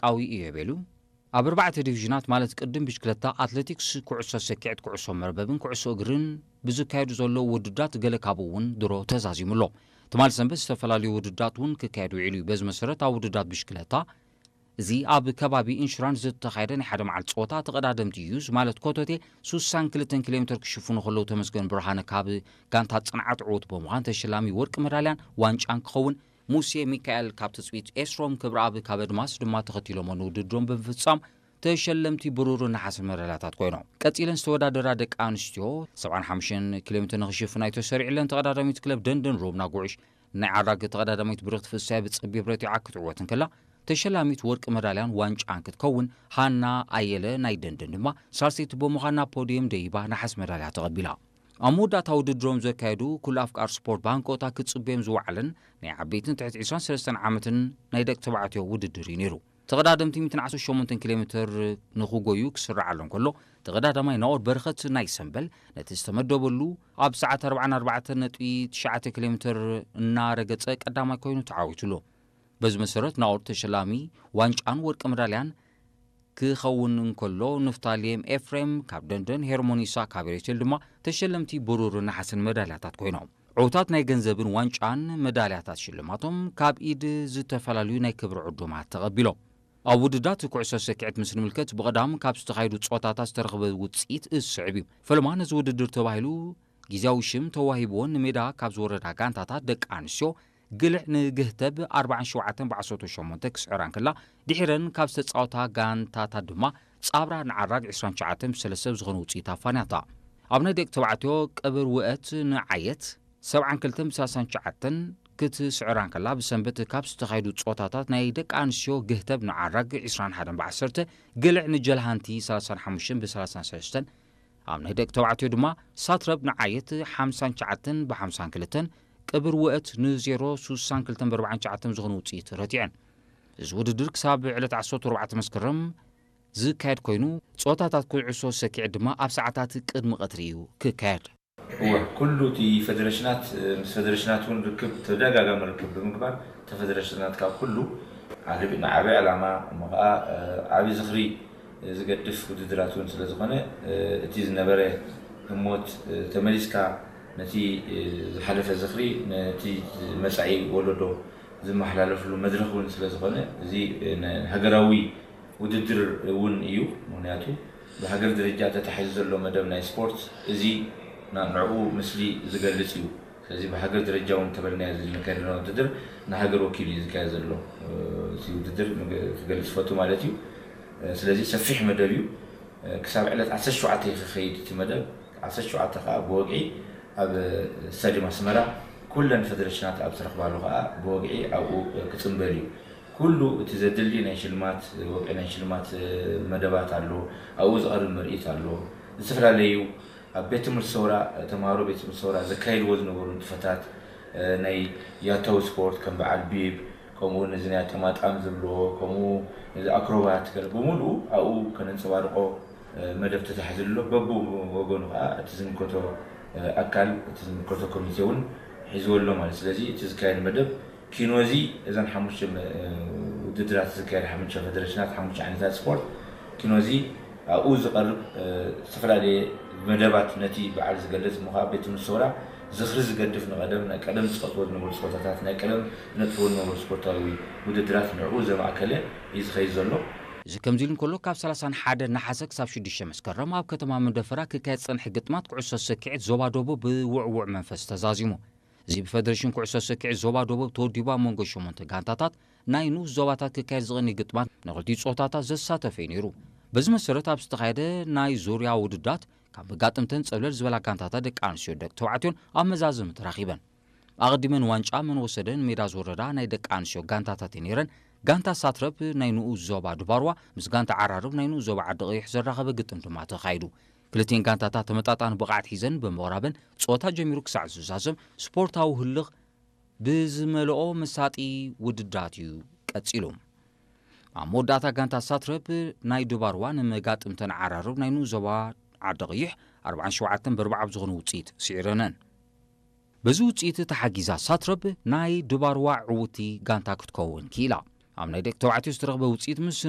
ዓብዪ እዩ የቤሉ። ኣብ ኣርባዕተ ዲቪዥናት ማለት ቅድም ብሽክለታ፣ ኣትሌቲክስ፣ ኩዕሶ ሰኪዕት፣ ኩዕሶ መርበብን ኩዕሶ እግርን ብዝካየዱ ዘለዉ ውድድራት ገለ ካብኡ እውን ድሮ ተዛዚሙ ኣሎ። ትማሊ ሰንበት ዝተፈላለዩ ውድድራት እውን ክካየድ ውዒሉ እዩ። በዚ መሰረት ኣብ ውድድራት ብሽክለታ፣ እዚ ኣብ ከባቢ ኢንሹራንስ ዝተኻየደ ናይ ሓደ መዓልቲ ፀወታ ተቐዳደምቲ ዩዝ ማለት ኮተቴ ሱሳን ክልተን ኪሎ ሜትር ክሽፍኑ ከለዉ ተመስገን ብርሃነ ካብ ጋንታ ፅንዓት ዕዉት ብምዃን ተሸላሚ ወርቂ መዳልያን ዋንጫን ክኸውን፣ ሙሴ ሚካኤል ካብ ትፅቢት ኤስሮም ክብረኣብ ካብ ኣድማስ ድማ ተኸቲሎሞ ንውድድሮም ብምፍፃም ተሸለምቲ ብሩርን ነሓስን መዳልያታት ኮይኖም። ቀፂለን ዝተወዳደራ ደቂ ኣንስትዮ ሰብዓን ሓሙሽተን ኪሎ ሜትር ንኽሽፍና እዩ ተሰሪዕለን። ተቐዳዳሚት ክለብ ደንደን ሮብና ጉዕሽ ናይ ዓራግ ተቐዳዳሚት ብርኽቲ ፍሳይ ብፀቢብ ረቲዓ ክትዕወት እንከላ፣ ተሸላሚት ወርቂ መዳልያን ዋንጫን ክትከውን፣ ሃና ኣየለ ናይ ደንደን ድማ ሳልሰይቲ ብምዃን ናብ ፖድየም ደይባ ነሓስ መዳልያ ተቐቢላ። ኣብ መወዳእታ ውድድሮም ዘካየዱ ኩሉ ኣፍቃር ስፖርት ብሃንቀውታ ክጽበዮም ዝወዓለን ናይ ዓበይትን ትሕቲ ዕስራን ሰለስተን ዓመትን ናይ ደቂ ተባዕትዮ ውድድር እዩ ነይሩ። ተቐዳደምቲ ሚእትን ዓሰርተ ሸሞንተን ኪሎ ሜትር ንኽጎዩ ክስራዓሎም ከሎ፣ ተቐዳዳማይ ናኦር በረኸት ናይ ሰምበል ነቲ ዝተመደበሉ ኣብ ሰዓት ኣርባዓን ኣርባዕተን ነጥቢ ትሽዓተ ኪሎ ሜትር እናረገጸ ቀዳማይ ኮይኑ ተዓዊቱሉ። በዚ መሰረት ናኦር ተሸላሚ ዋንጫን ወርቂ መዳልያን ክኸውን እንከሎ፣ ንፍታሌም ኤፍሬም ካብ ደንደን፣ ሄርሞኒሳ ካብ ኤሬቴል ድማ ተሸለምቲ ብሩርን ነሓስን መዳልያታት ኮይኖም። ዕውታት ናይ ገንዘብን ዋንጫን መዳልያታት ሽልማቶም ካብ ኢድ ዝተፈላለዩ ናይ ክብሪ ዕዱማት ተቐቢሎም። ኣብ ውድዳት ኩዕሶ ሰኪዐት ምስ ንምልከት፣ ብቐዳም ካብ ዝተኻየዱ ጸወታታት ዝተረኽበ ውጽኢት ዝስዕብ እዩ። ፈለማ ነዚ ውድድር ተባሂሉ ግዝያዊ ሽም ተዋሂብዎን ንሜዳ ካብ ዝወረዳ ጋንታታት ደቂ ኣንስትዮ ግልዕ ንግህተብ ኣርባዓን ሸውዓተን ብዓሰርተ ሸሞንተ ክስዕራ እንከላ፣ ድሒረን ካብ ዝተጻወታ ጋንታታት ድማ ጻብራ ንዓራግ ዕስራን ትሽዓተን ብሰለስተ ብዝኾነ ውጽኢት ኣፋንያታ። ኣብ ናይ ደቂ ተባዕትዮ ቅብር ውእት ንዓየት ሰብዓን ክልተን ብሰላሳን ትሽዓተን ክትስዕራ እንከላ፣ ብሰንበት ካብ ዝተኻየዱ ጸወታታት ናይ ደቂ ኣንስትዮ ግህተብ ንዓራግ ዕስራን ሓደን ብዓሰርተ፣ ግልዕ ንጀልሃንቲ ሰላሳን ሓሙሽተን ብሰላሳን ሰለስተን፣ ኣብ ናይ ደቂ ተባዕትዮ ድማ ሳትረብ ንዓየት ሓምሳን ትሽዓተን ብሓምሳን ክልተን፣ ቅብር ውእት ንዜሮ ሱሳን ክልተን ብኣርባዓን ትሽዓተን ዝኾነ ውጽኢት ረቲዐን። እዚ ውድድር ክሳብ ዕለት ዓሰርተ ኣርባዕተ መስከረም ዝካየድ ኮይኑ፣ ጸወታታት ኩዕሶ ሰኪዐት ድማ ኣብ ሰዓታት ቅድሚ ቀትሪ እዩ ክካየድ። እወ፣ ኩሉ እቲ ፈደረሽናት፣ ምስ ፈደረሽናት እውን ርክብ፣ ተደጋጋሚ ርክብ ብምግባር፣ እቲ ፈደረሽናት ካብ ኩሉ ዓለቢ-፣ ንዓቢ ዕላማ፣ እሞ ኸዓ፣ ዓቢ ዝኽሪ ዝገድፍ ውድድራት እውን ስለ ዝኾነ፣ እቲ ዝነበረ ህሞት ተመሊስካ ነቲ ዝሓለፈ ዝኽሪ፣ ነቲ መጻኢ ወለዶ ዝመሓላለፍሉ መድረኽ እውን ስለ ዝኾነ፣ እዚ ንሃገራዊ ውድድር እውን እዩ። ምኽንያቱ ብሃገር ደረጃ ተታሒዙ ዘሎ መደብ ናይ ስፖርት እዚ ና-፣ ንዕኡ ምስሊ ዝገልጽ እዩ። ስለዚ ብሃገር ደረጃ እውን እንተበልናዮ፣ እዚ ዝካየድ ዘሎ ውድድር ንሃገር ወኪሉ እዩ ዝካየድ ዘሎ፣ እ፣ እቲ ውድድር ንግ-፣ ክገልጽ ፈቱ ማለት እዩ። እ፣ ስለዚ ሰፊሕ መደብ እዩ። እ፣ ክሳብ ዕለት ዓሰርተ ሸውዓተ እዩ ክኸይድ እቲ መደብ። ዓሰርተ ሸውዓተ ከዓ ብወግዒ ኣብ ስታዲየም ኣስመራ ኩለን ፈደረሽናት ኣብ ዝረኽባሉ ከዓ ብወግዒ ኣብኡ ክጽንበል እዩ። ኩሉ እቲ ዘድሊ ናይ ሽልማት፣ ወግዒ ናይ ሽልማት መደባት ኣሎ፣ ኣብኡ ዝቐርብ ምርኢት ኣሎ። ዝተፈላለዩ ኣብ ቤት ትምህርቲ ሰውራ፣ ተምሃሮ ቤት ትምህርቲ ሰውራ ዘካይድዎ ዝነበሩ ንጥፈታት፣ ናይ ያታዊ ስፖርት ከም በዓል ቢብ፣ ከምኡ እውን እዚ ናይ ኣጠማጣም ዝብልዎ፣ ከምኡ እዚ ኣክሮባት ገለ ብምሉኡ ኣብኡ ከነንጸባርቆ መደብ ተታሒዙ ኣሎ። በብወገኑ ከዓ እቲ ዝምልከቶ ኣካል፣ እቲ ዝምልከቶ ኮሚቴ እውን ሒዝዎ ኣሎ ማለት። ስለዚ እቲ ዝካየድ መደብ ኪኖዚ፣ እዘን ሓሙሽተ መ-፣ ውድድራት ዝካየድ ሓሙሽተ ፈደረሽናት፣ ሓሙሽተ ዓይነታት ስፖርት ኪኖዚ ኣብኡ ዝቐርብ፣ እ፣ ዝተፈላለየ መደባት ነቲ በዓል ዝገልጽ እሞ ከዓ ቤት ትምህርቲ ሰውራ ዝኽሪ ዝገድፍ ንቐደም፣ ናይ ቀደም ዝጸወትዎ ዝነበሩ ጸወታታት፣ ናይ ቀደም ዝነጥፍዎ ዝነበሩ ስፖርታዊ ውድድራት ንዕኡ ዘማእከለ እዩ ዝኸይድ ዘሎ። እዚ ከምዚ ኢሉ እንከሎ፣ ካብ ሰላሳን ሓደን ነሓሰ ክሳብ ሽዱሽተ መስከረም ኣብ ከተማ መንደፈራ ክካየድ ዝጸንሐ ግጥማት ኩዕሶ ሰኪዔት ዞባ ደቡብ ብውዕዉዕ መንፈስ ተዛዚሙ። እዚ ብፈደሬሽን ኩዕሶ ሰኪዔት ዞባ ደቡብ ተወዲቡ ኣብ መንጎ ሸሞንተ ጋንታታት ናይ ንኡስ ዞባታት ክካየድ ዝቐንየ ግጥማት ንኽልቲኡ ጾታታት ዘሳተፈ እዩ ነይሩ። በዚ መሰረት ኣብ ዝተኻየደ ናይ ዙርያ ውድዳት ካብ መጋጥምተን ጸብለል ዝበላ ጋንታታት ደቂ ኣንስትዮ ደቂ ተባዕትዮን ኣብ መዛዘሚ ተራኺበን። ኣቐዲመን ዋንጫ መን ወሰደ ንሜዳ ዝወረዳ ናይ ደቂ ኣንስትዮ ጋንታታት እየን ነይረን። ጋንታ ሳትረፕ ናይ ንኡስ ዞባ ድባርዋ ምስ ጋንታ ዓራርብ ናይ ንኡስ ዞባ ዓዲ ቀይሕ ዘራኸበ ግጥም ድማ ተኻይዱ። ክልቲኤን ጋንታታት ተመጣጣኒ ብቕዓት ሒዘን ብምቕራበን፣ ጸወታ ጀሚሩ ክሳዕ ዝዛዘም ስፖርታዊ ህልኽ ብዝመልኦ መሳጢ ውድድራት እዩ ቀጺሉ። ኣብ መወዳእታ ጋንታ ሳትረፕ ናይ ድባርዋ ንመጋጥምተን ዓራርብ ናይ ንኡስ ዞባ ዓዲ ቀይሕ ኣርባዓን ሸውዓተን ብኣርባዓ ብዝኾነ ውጽኢት ስዒረነን። በዚ ውጽኢት ተሓጊዛ ሳትረፕ ናይ ድባርዋ ዕውቲ ጋንታ ክትከውን ክኢላ። ኣብ ናይ ደቂ ተባዕትዮ ዝተረኽበ ውጽኢት ምስ